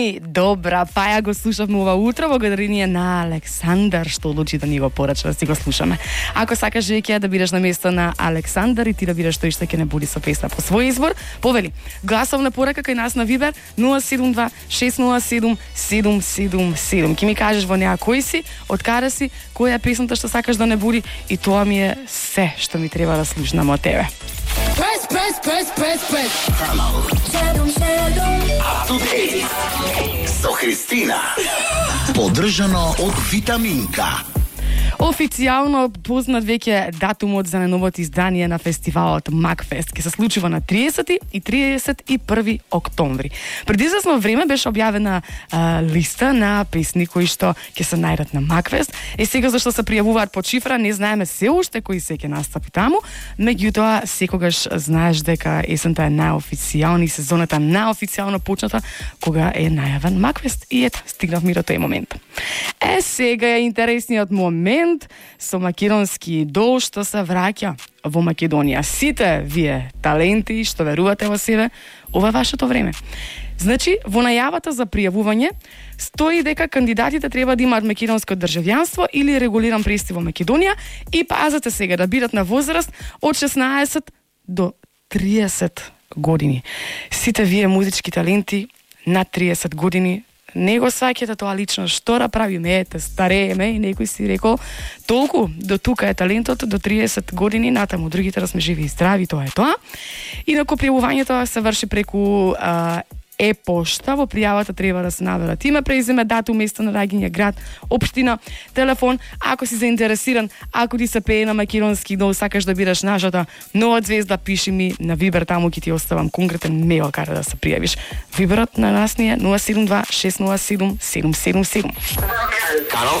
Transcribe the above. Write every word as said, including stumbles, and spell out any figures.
ми, добра, па ја го слушавме ова утро, благодарение на Александар, што одлучи да ни го порача да си го слушаме. Ако сакаш веќе да бидеш на место на Александар и ти да бидеш тој што ќе не буди со песна по свој избор, повели, гласовна порака кај нас на Вибер нула седум два шест нула седум седум седум седум. Ки ми кажеш во неа кој си, од каде си, која е песната што сакаш да не буди и тоа ми е се што ми треба да слушнам од тебе. Press, press, press, press, press. Up to date со Христина. Поддржано од Витаминка. Официјално познат веќе датумот за најновото издание на фестивалот Макфест. Ке се случува на триесети и триесет и први октомври. Преди известно време беше објавена а, листа на песни кои што ќе се најдат на Макфест. Е сега зашто се пријавуваат по шифра, не знаеме се уште кои се ќе настапи таму, меѓутоа секогаш знаеш дека есента е најофицијална и сезоната најофицијално почната кога е најавен Макфест. И ето, стигнавме до тој момент. Е сега е интересниот момент со македонски идол што се враќа во Македонија. Сите вие таленти што верувате во себе, ова е вашето време. Значи, во најавата за пријавување стои дека кандидатите треба да имаат македонско државјанство или регулиран престой во Македонија и пазете сега да бидат на возраст од шеснаесет до триесет години. Сите вие музички таленти над триесет години не го сваќате тоа лично, што да правиме, ете, старееме и некој си рекол, толку до тука е талентот, до триесет години, натаму другите да сме живи и здрави, тоа е тоа. Инаку пријавувањето се врши преку а, е-пошта, во пријавата треба да се наверат име, презиме, датум, место на раѓање, град, општина, телефон. Ако си заинтересиран, ако ти се пее на македонски идол, сакаш да бидеш нашата нова звезда, пиши ми на Вибер, таму ќе ти оставам конкретен мејл каде да се пријавиш. Виберот на нас ни е нула седум два шест нула седум седум седум седум. Канал